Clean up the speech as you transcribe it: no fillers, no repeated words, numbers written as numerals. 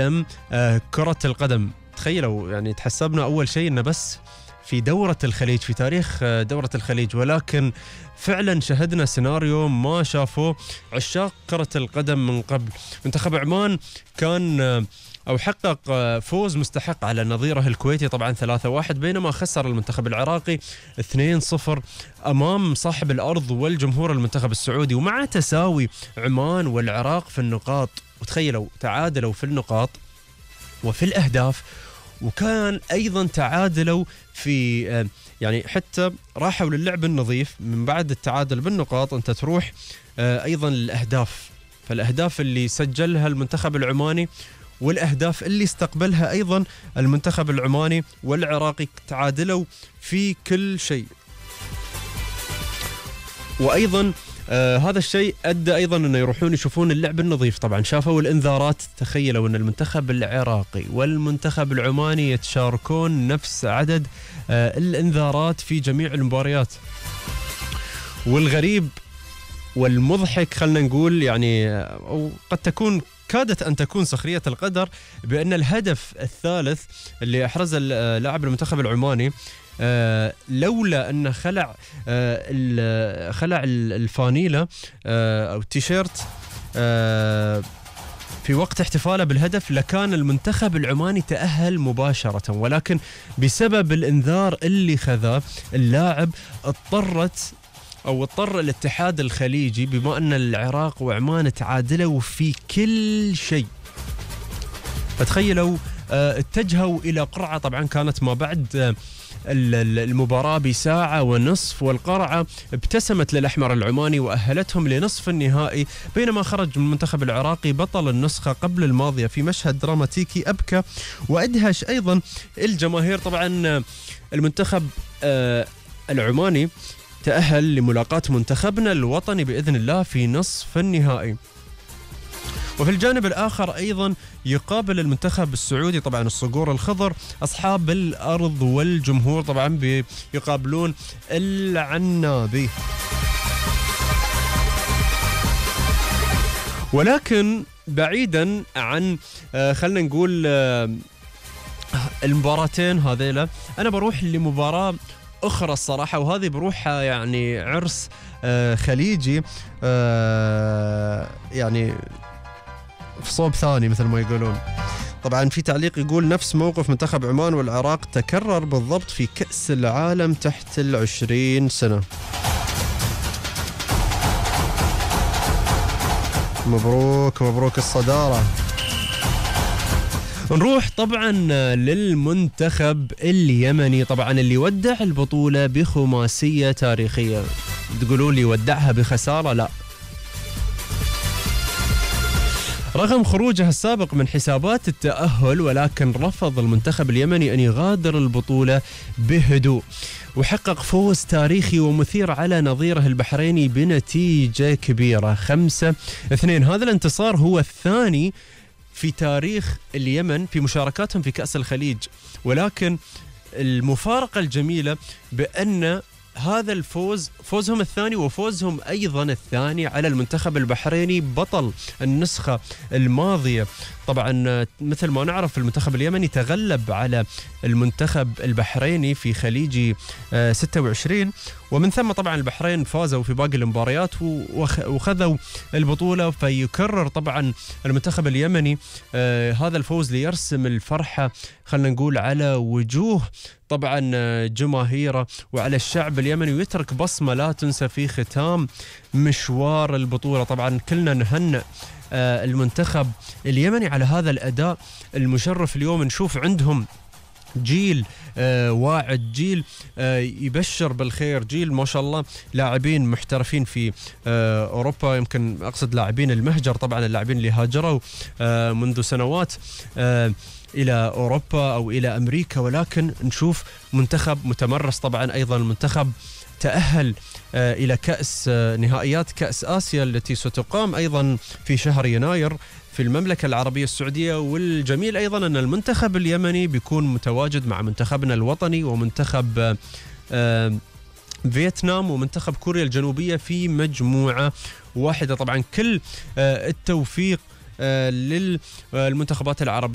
عالم كرة القدم. تخيلوا يعني تحسبنا أول شيء إنه بس في دورة الخليج، في تاريخ دورة الخليج، ولكن فعلا شهدنا سيناريو ما شافوه عشاق كرة القدم من قبل. منتخب عمان كان أو حقق فوز مستحق على نظيره الكويتي طبعا 3-1، بينما خسر المنتخب العراقي 2-0 أمام صاحب الأرض والجمهور المنتخب السعودي. ومع تساوي عمان والعراق في النقاط، وتخيلوا تعادلوا في النقاط وفي الأهداف، وكان أيضا تعادلوا في يعني حتى راحوا للعب النظيف. من بعد التعادل بالنقاط أنت تروح أيضا للأهداف، فالأهداف اللي سجلها المنتخب العماني والأهداف اللي استقبلها أيضا المنتخب العماني والعراقي تعادلوا في كل شيء. وأيضا هذا الشيء أدى أيضا أنه يروحون يشوفون اللعب النظيف. طبعا شافوا الإنذارات، تخيلوا أن المنتخب العراقي والمنتخب العماني يتشاركون نفس عدد الإنذارات في جميع المباريات. والغريب والمضحك خلنا نقول يعني، أو قد تكون كادت أن تكون سخرية القدر، بأن الهدف الثالث اللي أحرز اللاعب المنتخب العماني لولا أنه خلع الفانيلة أو التيشيرت في وقت احتفاله بالهدف، لكان المنتخب العماني تأهل مباشرة. ولكن بسبب الإنذار اللي خذاه اللاعب اضطر الاتحاد الخليجي، بما أن العراق وعمان تعادلوا في كل شيء، فتخيلوا اتجهوا إلى قرعة. طبعا كانت ما بعد المباراة بساعة ونصف، والقرعة ابتسمت للأحمر العماني وأهلتهم لنصف النهائي، بينما خرج من المنتخب العراقي بطل النسخة قبل الماضية في مشهد دراماتيكي أبكى وأدهش أيضا الجماهير. طبعا المنتخب العماني تأهل لملاقاة منتخبنا الوطني بإذن الله في نصف النهائي. وفي الجانب الآخر أيضا يقابل المنتخب السعودي طبعا الصقور الخضر أصحاب الأرض والجمهور، طبعا يقابلون العنابي. ولكن بعيدا عن خلنا نقول المباراتين هذيلا، أنا بروح لمباراة أخرى الصراحة، وهذه بروحها يعني عرس خليجي يعني في صوب ثاني مثل ما يقولون. طبعا في تعليق يقول نفس موقف منتخب عمان والعراق تكرر بالضبط في كأس العالم تحت 20 سنة. مبروك مبروك الصدارة. نروح طبعا للمنتخب اليمني، طبعا اللي ودع البطولة بخماسية تاريخية. تقولوا لي ودعها بخسارة؟ لا، رغم خروجها السابق من حسابات التأهل، ولكن رفض المنتخب اليمني أن يغادر البطولة بهدوء، وحقق فوز تاريخي ومثير على نظيره البحريني بنتيجة كبيرة 5-2. هذا الانتصار هو الثاني في تاريخ اليمن في مشاركاتهم في كأس الخليج، ولكن المفارقة الجميلة بأن هذا الفوز فوزهم الثاني، وفوزهم أيضا الثاني على المنتخب البحريني بطل النسخة الماضية. طبعا مثل ما نعرف المنتخب اليمني تغلب على المنتخب البحريني في خليجي 26، ومن ثم طبعا البحرين فازوا في باقي المباريات وخذوا البطولة. فيكرر طبعا المنتخب اليمني هذا الفوز ليرسم الفرحة خلنا نقول على وجوه طبعا جماهيره وعلى الشعب اليمني، ويترك بصمة لا تنسى في ختام مشوار البطولة. طبعا كلنا نهنئ المنتخب اليمني على هذا الأداء المشرف. اليوم نشوف عندهم جيل واعد، جيل يبشر بالخير، جيل ما شاء الله لاعبين محترفين في أوروبا، يمكن أقصد لاعبين المهجر، طبعا اللاعبين اللي هاجروا منذ سنوات إلى أوروبا أو إلى أمريكا، ولكن نشوف منتخب متمرس. طبعا أيضا المنتخب تأهل إلى كأس نهائيات كأس آسيا التي ستقام أيضا في شهر يناير في المملكة العربية السعودية. والجميل أيضا أن المنتخب اليمني بيكون متواجد مع منتخبنا الوطني ومنتخب فيتنام ومنتخب كوريا الجنوبية في مجموعة واحدة. طبعا كل التوفيق للمنتخبات العربية